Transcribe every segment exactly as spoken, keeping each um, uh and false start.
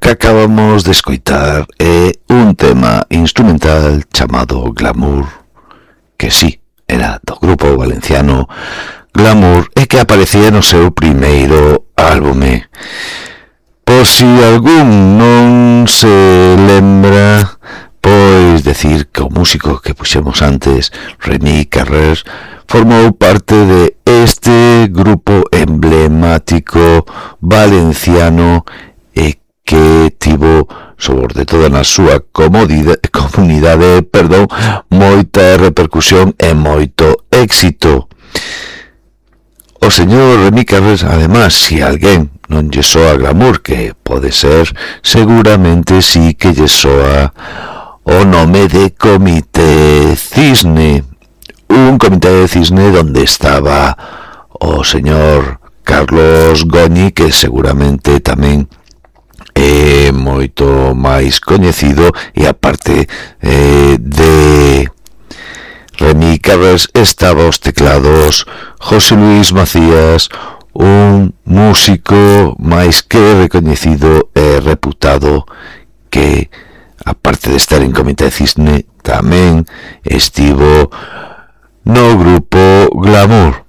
que acabamos de escoitar é un tema instrumental chamado Glamour, que sí, era do grupo valenciano Glamour e que aparecía no seu primeiro álbume. Por si algún non se lembra, pois decir que o músico que puxemos antes, Rémi Carrés, formou parte de este grupo emblemático valenciano e que tivo, sobre todo na súa comunidade, perdón, moita repercusión e moito éxito. O señor Rémi Carrés, además, si alguén non lle soa Glamour, que pode ser, seguramente sí que lle soa o nome de Comité Cisne, un Comité de Cisne donde estaba o señor Carlos Goñi, que seguramente tamén é moito máis coñecido, e aparte eh, de Rémi Carrés estaba os teclados José Luis Macías, un músico máis que recoñecido e reputado que, aparte de estar en Comité Cisne, tamén estivo no grupo Glamour.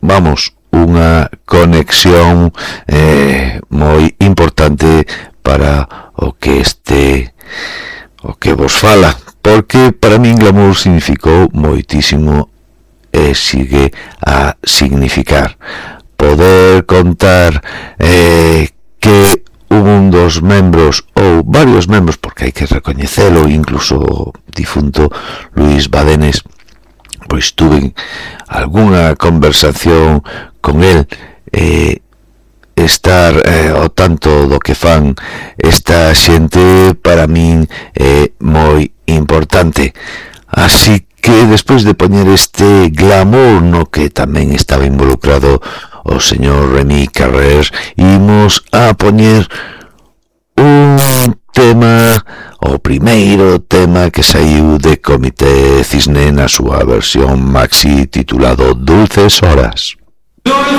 Vamos, unha conexión eh, moi importante para o que este o que vos fala, porque para min Glamour significou moitísimo e sigue a significar. Poder contar eh, que un dos membros ou varios membros, porque hai que recoñecelo, incluso o difunto Luis Badenes, pois tuve algunha conversación con el, eh, estar eh, ao tanto do que fan esta xente para min é eh, moi importante. Así que despois de poñer este Glamour, no que tamén estaba involucrado o señor Rémi Carrés, imos a poñer un tema, o primeiro tema que saiu de Comité Cisne na súa versión maxi titulado Dulces Horas.